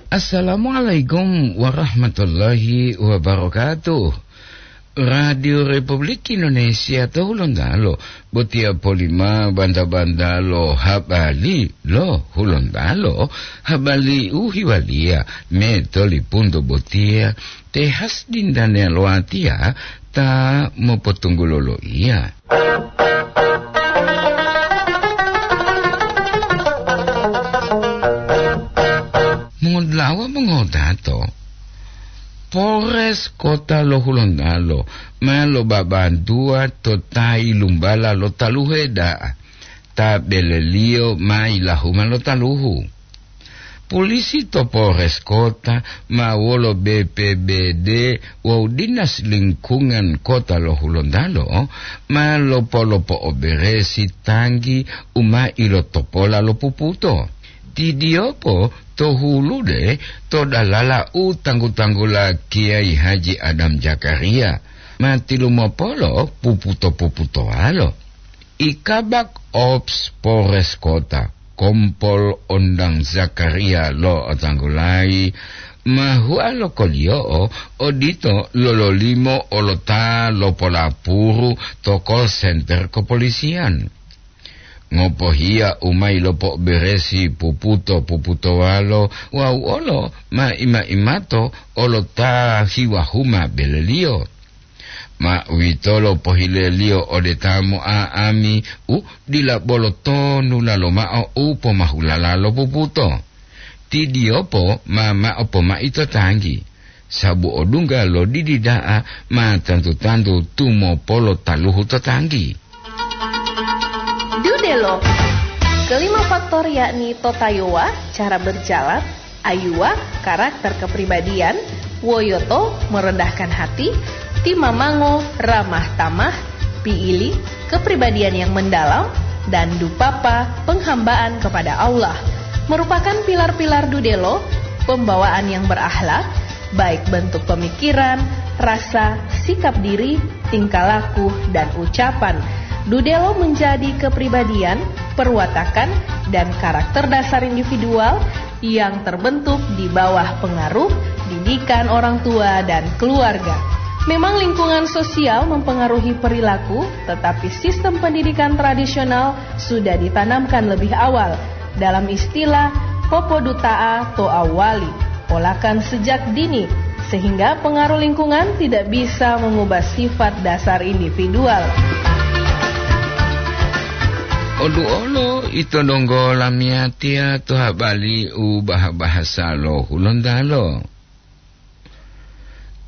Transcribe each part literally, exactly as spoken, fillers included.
Assalamualaikum warahmatullahi wabarakatuh. Radio Republik Indonesia to Hulontalo, botiya polima banta-banta lo habari lo Hulontalo, habari u hiwaliya me tolipunto botiya, te has dindane lo atiya ta mopotunggulo lo iya. Mongodulawa mongodato, Polres Kota lo Hulontalo ma lobabantuwa to ta yilumbala lo taluhe da'a ta beleliyo ma yilahuma lo taluhu. Polisi to Polres Kota ma wolo B P B D wawu Dinas Lingkungan Kota lo Hulontalo ma lopolopo'oberesi tanggi u ma ilotopola lo puputo. Tidiyopo to hulude to dalala u tanggu-tanggula Kiai Haji Adam Zakaria ma tilumopolo puputo-puputowalo. I Kabak Ops Polres Kota, Kompol Ondang Zakaria lo otanggulayi, ma hua lo koliyo'o odito lololimo olota lopolapuru to call center kepolisian. Ngopohiya u ma ilopo'oberesi puputo-puputowalo wawu olo ma ima-imato olota hiwahuma beleliyo. Ma uwitolo pohileliyo ode ta mo'a'ami u dila bolo tonula lomao u pomahulala lo puputo. Tidiyopo ma mao pomai to tanggi, sabu odungga lo didi da'a ma tantu-tantu tumopolo taluhu to tanggi. Dudelo. Kelima faktor yakni totayowa, cara berjalan, ayuwa, karakter kepribadian, woyoto, merendahkan hati, timamango, ramah tamah, piili, kepribadian yang mendalam, dan dupapa, penghambaan kepada Allah, merupakan pilar-pilar dudelo, pembawaan yang berakhlak, baik bentuk pemikiran, rasa, sikap diri, tingkah laku, dan ucapan. Dudelo menjadi kepribadian, perwatakan, dan karakter dasar individual yang terbentuk di bawah pengaruh didikan orang tua dan keluarga. Memang lingkungan sosial mempengaruhi perilaku, tetapi sistem pendidikan tradisional sudah ditanamkan lebih awal. Dalam istilah, popoduta'a to awali, polakan sejak dini, sehingga pengaruh lingkungan tidak bisa mengubah sifat dasar individual. Oduolo ito donggo lamiyatiya to habari u baha-bahasa lo Hulontalo.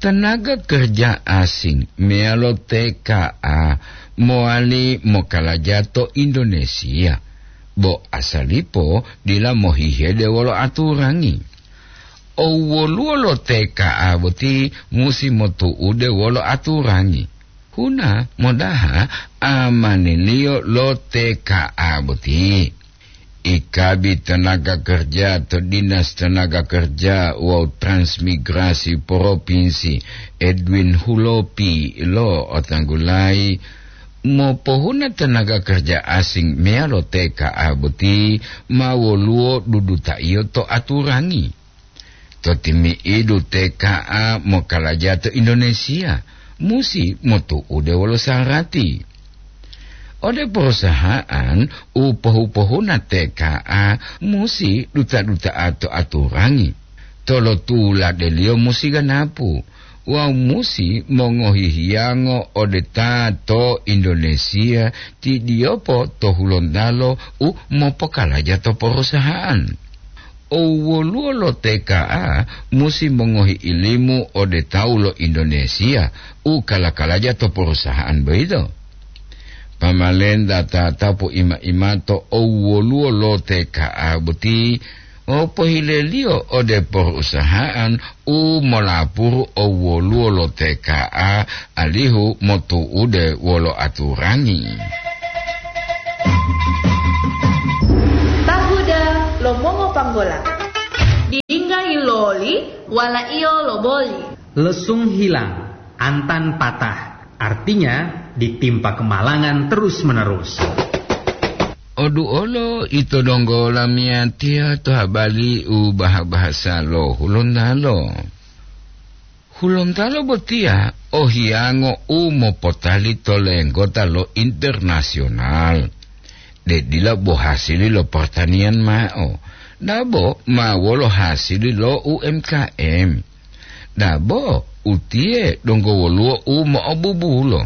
Tenaga kerja asing meyalo T K A mowali mokalaja to Indonesia, bo asalipo dila mohihede wolo aturangi. Owoluwo lo T K A boti musi motu'ude wolo aturangi. Huna modaha amaniliyo lo T K A boti. Ikabi tenaga kerja to Dinas Tenaga Kerja wawu Transmigrasi Provinsi, Edwin Hulopi, lo otanggulayi, mopohuna tenaga kerja asing meyalo T K A boti ma woluwo dudutaiyo to aturangi. To timi'idu T K A mokalaja to Indonesia musi motu'ude wolo sarati. Ode perusahaan u pohu-pohuna T K A musi duta-duta'a to aturangi, tolotuladeliyo musi ganapu, wawu musi mongohi hiyango ode ta to Indonesia, tidiyopo to Hulontalo u mopokalaja to perusahaan. Owoluwo lo T K A musi mongohi ilimu ode tawu lo Indonesia u kala-kalaja to perusahaan boyito. Pamalenta tatapu ima-imato owoluwo lo T K A boti, o pohileliyo ode perusahaan u molapuru owoluwo lo T K A, alihu motu'ude wolo aturangi. Tahuda lo mongopanggola. Dingga iloli, wala iyo loboli. Lesung hilang, antan patah. Artinya, ditimpa kemalangan terus-menerus. Odu olo ito donggo lamiyatiya to habali u baha-bahasa lo Hulontalo. Hulontalo botiya o hiyango u mopotali to lenggota lo internasional. De dila bo hasili lo pertanian ma'o, dabo ma wolo hasili lo U M K M. Dabo utiye donggo woluwo u mo'obubulo.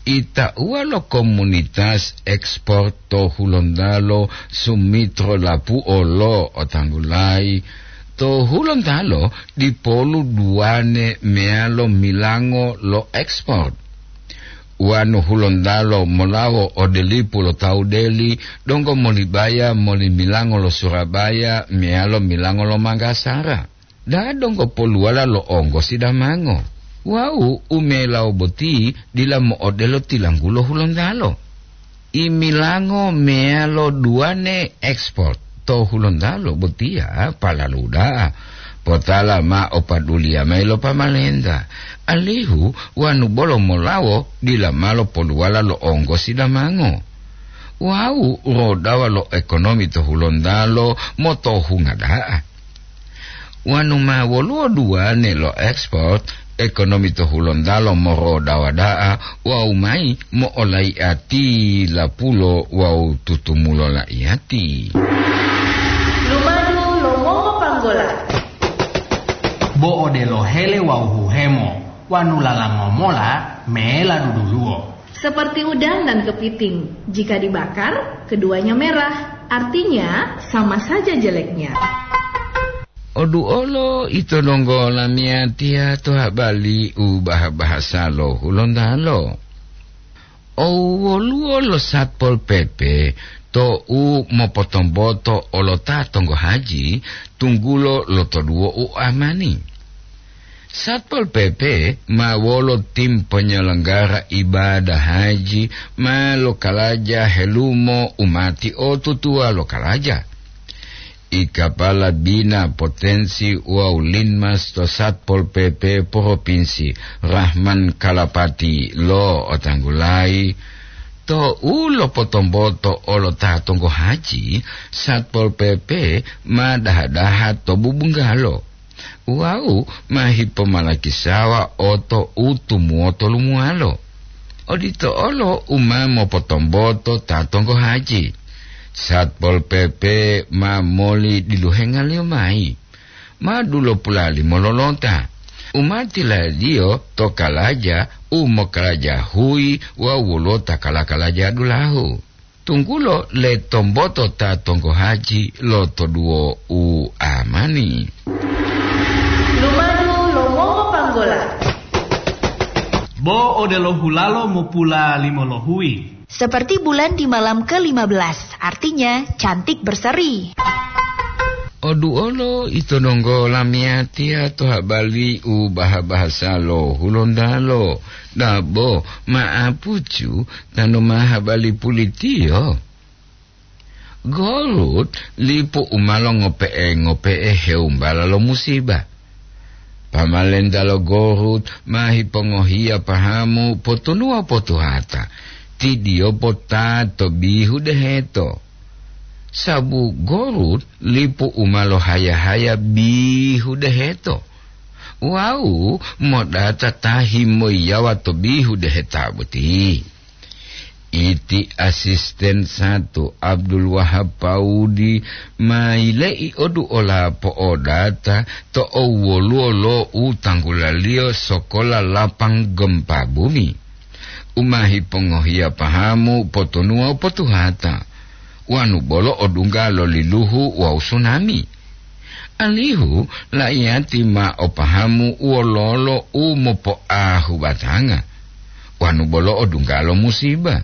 Itauwa lo komunitas ekspor to Hulontalo Sumitro Lapuo lo otanggulayi, to Hulontalo dipolu duwane meyalo milango lo ekspor. Wanu Hulontalo molawo ode lipu lo tawu deli, donggo molibaya moli milango lo Surabaya meyalo milango lo Manggasara. Da donggo poluwala lo onggosi damango. Wawu u melawo boti dila mo'odelo tilanggulo Hulontalo. Imilango meyalo duwane ekspor to Hulontalo botiya palalu da'a. Potala ma o paduliya mayi lo pamalenta, alihu wanu bolo molawo dila malo poluwala lo onggosi damango. Wawu rodawa lo ekonomi to Hulontalo motohunga da'a. Wanu ma woluwo duwane lo ekspor, ekonomi to Hulontalo morodawa da'a wawu mayi mo'olaiati lapulo wawu tutumulo laiyati. Lumadu lo Mongo Panggola. Bo odelo hele wawu huhemo, wanu lalango mola mela duduluwo. Seperti udang dan kepiting, jika dibakar, keduanya merah, artinya sama saja jeleknya. Odu olo ito donggo lamiyatiya to habali u baha-bahasa lo Hulontalo. O woluwo lo Satpol P P to u mopotomboto olota tonggo haji tunggulo lotoduwo u amani. Satpol P P ma wolo tim penyelenggara ibadah haji ma lokalaja helumo umati o tutuwa lokalaja. I kapala bina potensi wawu linmas to Satpol P P Provinsi Rahman Kalapati lo otanggulayi, to u lopotomboto olota tonggo haji, Satpol P P ma daha-daha to bubunggalo. Wawu ma hipomalakisawa oto u tumuwoto lumuwalo. Odito olo u ma mopotomboto ta tonggo haji. Satpol P P ma moli diluhengaliyo mayi. Ma dulopula limo lolota. U ma tiladiyo to kalaja u mokalaja huyi wawu wolota kala-kalaja dulahu. Tunggulo le tomboto ta tonggo haji lo toduwo u amani. Lumadu lo Mongo Panggola. Bo odelo hulalo mopula limo lohuyi. Seperti bulan di malam ke lima belas, artinya cantik berseri. Odu olo ito donggo lamiyatiya to habali u baha-bahasa lo Hulontalo. Dabo ma'apucu tanu ma habali pulitiyo. Gorut lipu u ma longope'e-ngope'e heumbala lo musiba. Pamalenta lo Gorut ma hipongohiya pahamu potunuwa potuhata, tidiyo pota to bihu deheto. Sabu Gorut lipu u ma lohaya-haya bihu deheto, wawu modata ta himoyiyawa to bihu deheta boti. Iti asisten satu Abdul Wahab Paudi ma yile'i odu ola po'odata to owwoluwo lo u tanggulaliyo sokola lapang gempa bumi. U ma hipongohiya pahamu potunuwa u potuhata, wanu bolo odungga lo liluhu wawu sunami. Alihu laiyati ma o pahamu wololo u mopoahu batanga, wanu bolo odungga lo musiba.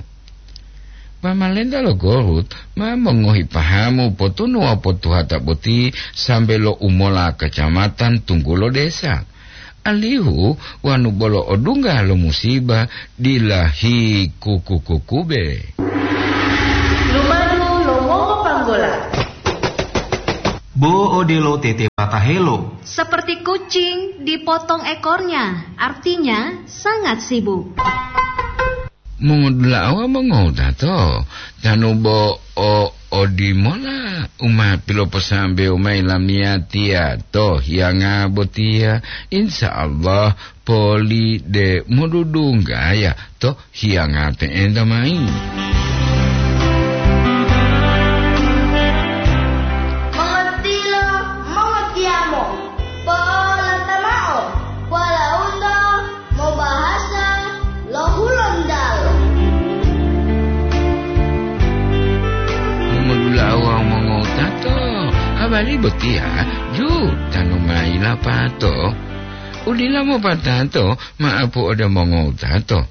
Pamalenta lo Gorut ma mongohi pahamu potunuwa potuhata boti sambe lo umola kacamatan tunggulo desa. Alihu wanu bolo odungga lo musiba dila hikukukukube. Lumadu lo Mongo Panggola. Bo odelo tete patahelo. Seperti kucing dipotong ekornya, artinya sangat sibuk. Mongodula'a wawu mongowutato, tanu bo o odimola u ma piloposambewo mayi lamiyatiya to hiyanga botiya, insya Allah poli de modudunggaya to hiyanga pe'enta mayi. Mongotilo, mongotiyamo, po'olata mao, walaundo mobahasa lo Hulontalo. Mongolula'a wawu mongowutato, habari botiya ju tanu mayi lapato. Udila mopatato ma'apu ode mongowutato.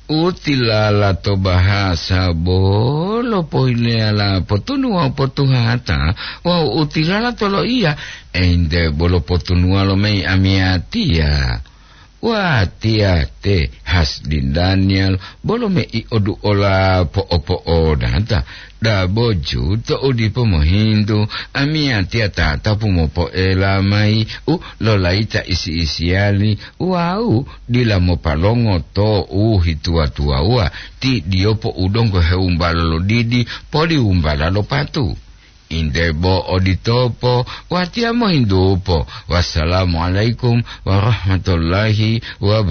U tilala to bahasa bolo pohileyala potunu wawu potuhata, wawu u tilala to loiya, ente bolo potunuwa lo mayi amiyatiya. Watiya te Hasdin Daniel bolo mei oduola po'opo'odata, dabo ju to u dipo mohintu, amiyatiya tatapu mopoela mayi u lolayita isi-isiyali wawu dila mopalongo to u hituwa-tuwawuwa, ti diyopo u donggo hewumbalo lo didi poli wumbala lo patu. Inde bo oditopo, watiya mohintupo. Wassalamualaikum warahmatullahi wabarakatuh.